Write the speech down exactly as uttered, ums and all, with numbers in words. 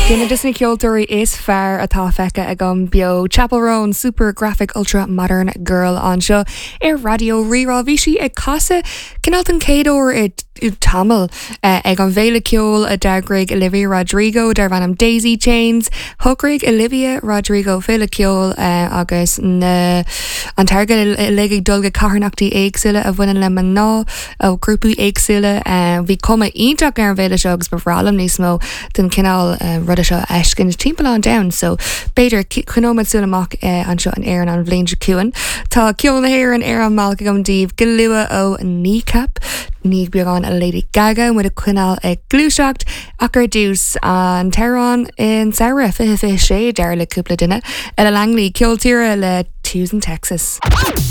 Duine de na ceoltóirí is fearr atá feicthe agam beo Chappell Roan super graphic ultra modern girl anseo ar Raidió Rí-Rá bhí sí ag casadh cineál an chéad uair i tamall uh, ag an bhféile ceoil a d'eagraigh Olivia Rodrigo darb ainm Daisy Chains, Shocraigh Olivia Rodrigo féile ceoil uh, agus na an t-airgead uilig ag dul go carthanachtaí éagsúla a bhaineann le mná ó grúpaí éagsúla uh, bhí cuma iontach ar an bhféile seo agus ba bhreá liom níos mó den cineál uh, ruda seo a fheiscint timpeall an domhain, so b'fhéidir coinneoimid súil amach uh, anseo in Éirinn an bhliain seo chugainn. Tá ceol na hÉireann ar an mbealach agam daoibh go luath ó Kneecap, ní beagán a Lady Gaga muid ag coinneáil ag gluaiseacht ach ar dtús an t-amhrán an tsamhraidh fiche fiche sé dar le cúpla duine Ella Langley ceol tíre le Tuesday in Texas.